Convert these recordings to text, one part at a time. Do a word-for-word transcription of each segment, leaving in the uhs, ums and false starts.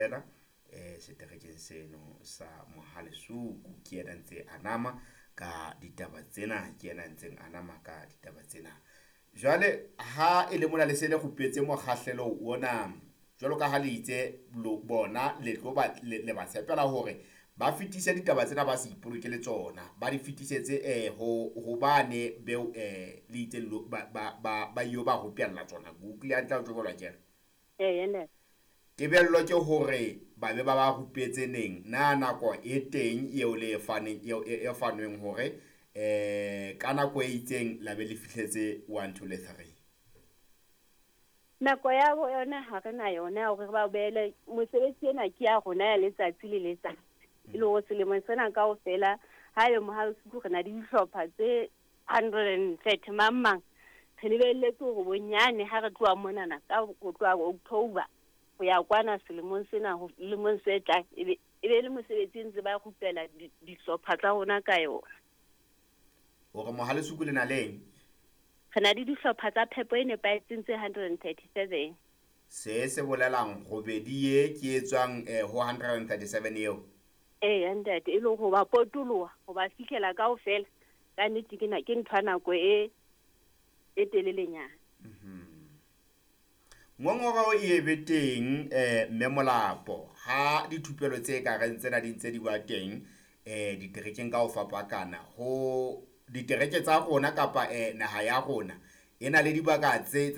Fela eh seterekeng seno sa Mohalesuku ke yena ntse a nama ka ditaba tsena, ke yena ntseng a nama ka ditaba tsena. Jwale ha e le mona le se le rupetse mokgahlelo ona, jwalo ka ha le itse bona le tlo ba le ba tshepela hore ba fetise ditaba tsena, ba se ipolokele tsona, ba di fetisetse eh ho ho bane beo eh le itse ba ba ba yo ba rupella tsona. Ke utlwile hantle ha o tjho jwalo akere? Ee, ntate. Tebello ke hore ba be ba ba rupetse neng? Na nako e teng eo le e faneng eo e fanweng hore eh ka nako e itseng la be le fihletse one two le three? Nako ya yona ha re na yona ya hore re ba beele mosebetsi ena ke ya rona ya letsatsi le letsatsi. E le hore selemong sena kaofela ha ebe Mohalesuku re na le dihlopha tse hundred and thirty mang mang, re lebelletse hore bonyane ha re tloha monana ka ho tloha October ho ya kwana selemong sena ho lemong se tlang, e be e be le mosebetsi ntse ba rupela dihlopha tsa rona ka yona. Hore Mohalesuku le na leng? Re na le dihlopha tsa phepo e nepahetseng tse hundred and thirty-seven. Se se bolelang robedi ye ke e tswang eh, ho hundred and thirty-seven eo? Ee, ntate, e le ho ba potoloha, ho ba fihlela kaofela. Ka nnete ke na ke ntho ya nako e e telelenyana. Ngongoreo e be teng eh mme Molapo ha dithupelo tse ka reng tsena di ntse di ba teng eh diterekeng ka ho fapakana ho ditereke tsa rona kapa eh naha ya rona e na le dibaka tse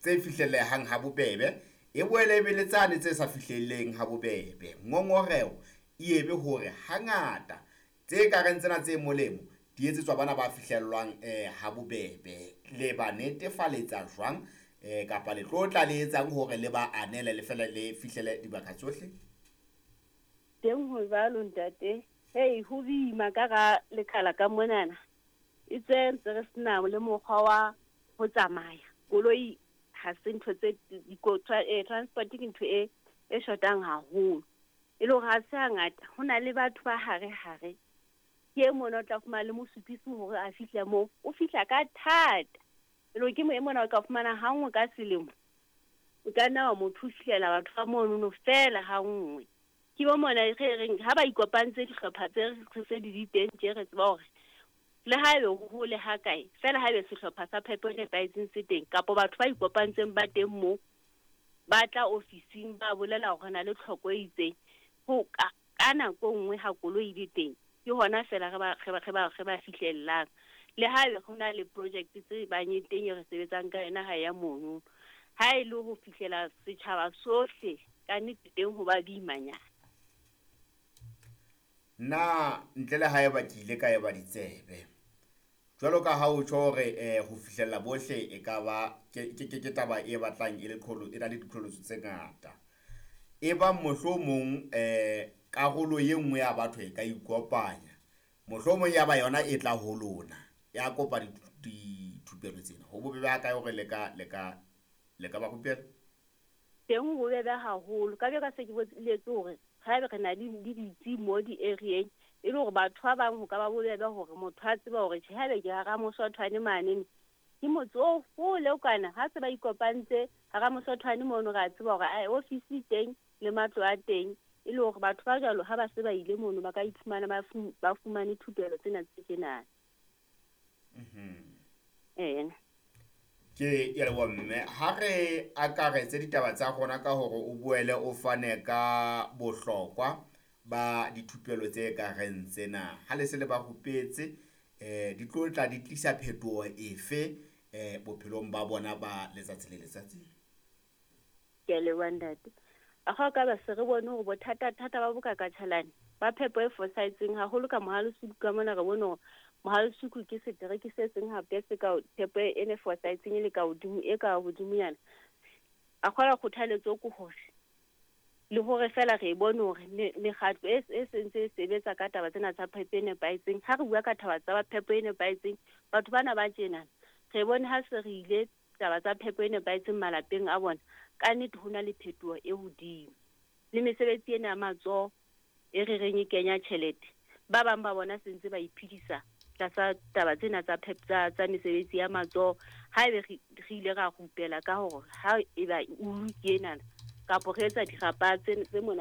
tse fihlellehang ha bobebe, e boele e be le tsane tse sa fihlelleng ha bobebe. Ngongoreo e ebe hore hangata tse ka reng tsena tse molemo di etsetswa bana ba fihlellwang eh ha bobebe. Le ba netefaletsa jwang eh kapa le tlo tla le etsang hore le ba anele le fela le fihlele dibaka tsohle? Teng ho jwalo ntate. Hei, ho boima ka ra lekala ka monana. E tse ntse re sena le mokgwa wa ho tsamaya. Koloi ha se ntho tse eh, transport ke ntho e e shotang haholo. E le hore ha se hangata ho na le batho ba hare hare. Ke e mona o tla fumana le mosupisi hore a fihle moo, o fihla ka thata. E le hore ke mo e mona o ka fumana ha nngwe ka selemo. O ka nna wa mo thusihlela batho ba monono fela ha nngwe. Ke bo mona re reng ha ba ikopantse dihlopha tse re se di di teng tje re tseba hore le ha ebe ho hole ha kae, fela ha ebe sehlopha sa phepo e nepahetseng se teng, kapa batho ba ikopantseng ba teng moo, ba tla ofising ba bolela hore re na le tlhoko e itseng. Ho ka, ka nako e nngwe ha koloi e le teng, ke hona fela re ba, re ba, re ba, re ba fihlellang. Le ha ebe ho na le project tse bang e teng e re sebetsang ka yona ha ya mono. Ha e le ho fihlela setjhaba sohle, ka nnete teng ho ba boimanyana. Na ntle le haeba ke ile ka eba ditsebe, jwalo ka ha o tjho hore eh ho fihlella bohle e ka ba ke ke ke taba e batlang e le qholo, e na le diqholotso tse ngata. E bang mohlomong eh karolo e nngwe ya batho e ka ikopanya, mohlomong ya ba yona e tla ho lona ya kopa dithupelo tsena, ho bobebe ha kae hore le ka le ka le ka ba rupela? Teng ho bobebe haholo. Ka be ka se ke boletse hore haebe re na le le ditsi mo di-area-eng, e le hore batho ba bang ho ka ba bobebe hore motho a tseba hore tjhe, haebe ke hara Mosothwane mane, ke motse o hole o kana, ha se ba ikopantse hara Mosothwane mono, re a tseba hore ai ofisi e teng le matlo a teng, e le hore batho ba jwalo ha ba se ba ile mono ba ka iphumana ba fu-, ba fumane thupelo tsena tse tjenana. Mhm. Ee. Ke ya leboha mme. Ha re akaretse ditaba tsa rona ka hore o boele o fane ka bohlokwa ba dithupelo tse ka reng tsena. Ha le se le ba rupetse, eh di tlo tla di tlisa phetoho efe eh bophelong ba bona ba letsatsi le letsatsi? Ke a leboha ntate. A ga ka ba se re bone hore bothata-thata ba bokakatjhalane ba phepo e fosahetseng haholo ka Mohalesuku ka mona, re bone hore Mohalesuku ke setereke se seng hape se ka phepo e ne fosahetseng e le ka hodimo, e ka hodimonyana. A kgola kgothaletso ke hore le hore fela re bone hore mekgatlo e, e sentse e sebetsa ka taba tsena tsa phepo e nepahetseng. Ha re bua ka taba tsa phepo e nepahetseng, batho bana ba tjena re bone ha se re ile taba tsa phepo e nepahetseng malapeng a bona, ka nnete ho na le phetoho e hodimo. Le mesebetsi ena ya matsoho e re reng e kenya tjhelete, ba bang ba bona se ntse ba iphedisa tlasa taba tsena tsa phepo, tsa, tsa mesebetsi ya matsoho. Haebe re, re ile ra rupela ka hore ha eba ulu ke enana, kapo re etsa dirapa tse, tse mona